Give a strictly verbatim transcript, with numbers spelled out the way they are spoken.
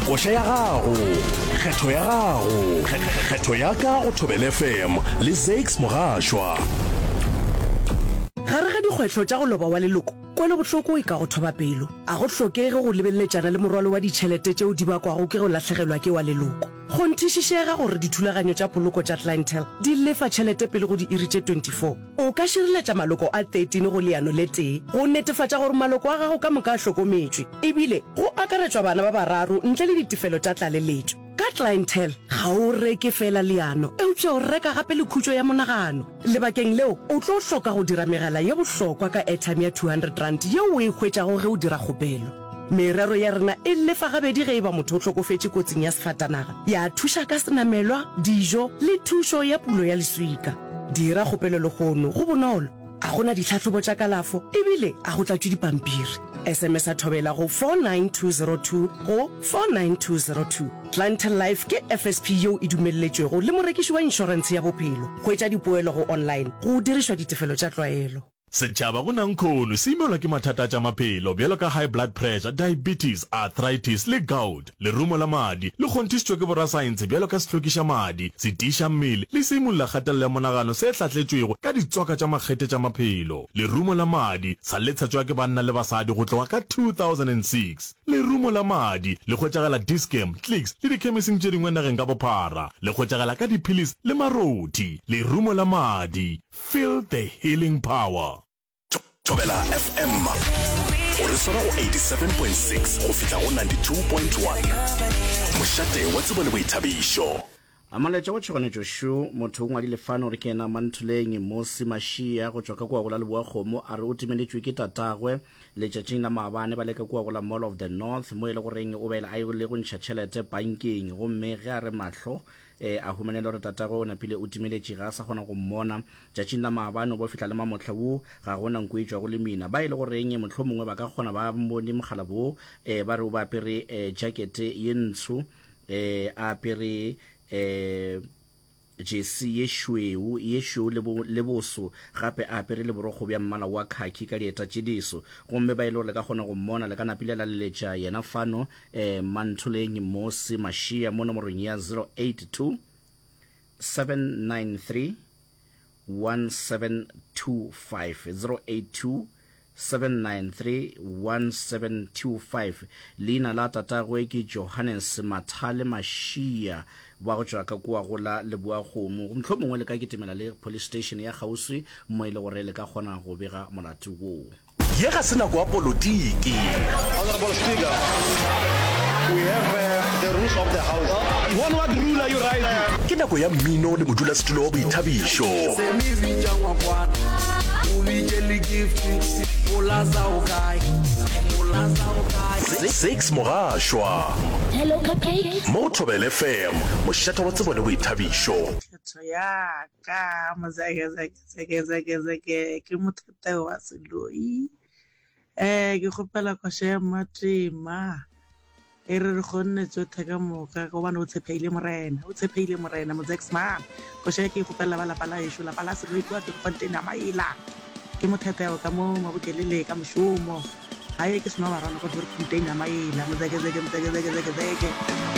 Koša ya gago, kgetho ya gago, kgetho ya ka go Thobela F M le Zakes Mogašwa. Gare ga dikgwetlho tša go loba wa leloko, kwelobohloko e ka go thoba pelo. A go hlokege go lebeleletšana le morwalo wa ditšhelete tšeo di bakwago ke go lahlegelwa ke wa leloko. Kgonthišišega gore dithulaganyo tša poloko tša Clientele di lefa tšhelete pele go diiri tše twenty-four. O ka šireletša maloko a thirteen go leano le tee go netefatša gore maloko a gago ka moka a hlokometšwe, ebile go akaretšwa bana ba bararo ntle le ditefelo tša tlaleletšo. Ka Clientele, ga o reke feela leano, eupša o reka gape le khutšo ya monagano. Lebakeng leo, o tlo hloka go dira megala ye bohlokwa ka airtime ya two hundred rand yeo o e hwetšago ge o dira kgopelo. Merero ya rena e lefa gabedi ge e ba motho o hlokofetše kotsing ya sefatanaga, ya thuša ka senamelwa, dijo le thušo ya pulo ya leswika. Dira kgopelo lehono, go bonolo, a go na ditlhahlobo tša kalafo ebile a go tlatšwe dipampiri. S M S a Thobela go four nine two zero two go four nine two zero two. Clientele Life ke F S P yeo e dumelletšwego le morekiši wa inšorentshe ya bophelo. Hwetša dipoelo go online go dirišwa ditefelo tša tlwaelo. Setšhaba go nankhono se imelwa ke mathata a tša maphelo bjalo ka high blood pressure, diabetes, arthritis le gout. Lerumo la madi le kgonthišitšwe ke borasaense bjalo ka sehlokiša madi, se tiiša mmele le se imulla kgatelelo ya monagano se hlahletšwego ka ditswaka tša makgethe tša maphelo. Lerumo la madi sa le tshetšwa ke banna le basadi go tloga ka two thousand and six. Lerumo la madi le hwetšagala Dis-Chem, Clicks le dikhemising tše dingwe nageng ka bophara. Le hwetšagala ka diphilisi le marothi. Lerumo la madi. Feel the healing power. Thobela F M o re swara go eighty-seven point six go fihla go ninety-two point one, mošate wa tsebo le boithabišo. A molaetša wa tšhoganetšo šo. Motho o ngwadile fano gore ke yena Mantholeng Mosi Mašia go tšwa ka kua go la Leboa Kgomo. A re o timeletšwe ke tatagwe letšatšing la maabane ba le ka kua go la Mall of the North, mo e le goreng o be a ile go ntšha tšhelete bankeng, gomme ge a re mahlo e a humanele gore tatagwe o napile o timeletše, ga a sa kgona go mmona. Tšatšing la maabane o bo fihla le mamohla wo ga gona nko e tšwago le mina. Ba e le goreng mohlomongwe ba ka kgona ba bone mogala bo um ba re o ba apere um jacket ye ntsho, um a apere um jesi ye šweu ye šweu le, bo, le boso, gape a apere le borokgo bja mmala wa khaki ka dieta tše diso. Gomme ba e le gore le ka kgona go mmona, le ka napile la leletša yena fano um Mantholeng Mosi Mašia mo nomorong ya zero eight two seven nine three one seven two five, zero eight two seven nine three one seven two five. Leina la tatagwe ke Johannes Mathale Mašia wa go tšwa ka kua go la Leboa Kgomo. Mohlomongwe le ka kitimela le police station ya kgauswi mo e le gore le ka kgona go bega molato woo. Ye ga se nako ya politiki. Honorable Speaker, we have uh, the rules of the house. On what rule are you rising? Ke nako ya mmino le modulasetulo wa boithabišo. Se me bitša ngwakwana o bitše le Gift Molaza o kae, Molaza o kae? Zakes Mogašwa. Hello, Cupcake. Mo Thobela F M, mošate wa tsebo le boithabišo. Kgetho ya ka mozeke zeke zeke zeke ke motheteo wa Seloi. um ke kgopela koša ya Mmatema e re re kgonne tsotlhe ka moka gobane o tshepeile Morena, o tshepeile Morena. Mozexman, koša e ke e kgopelela ba lapa la ešo, lapa la Seloi kua Turffontein ya Maila. Ke motheteo ka mo Mabokelele ka mošomo gae, ke seno barwana go Turffontein ya Maila. Mozeke zeke mozeke zeke zeke zeke.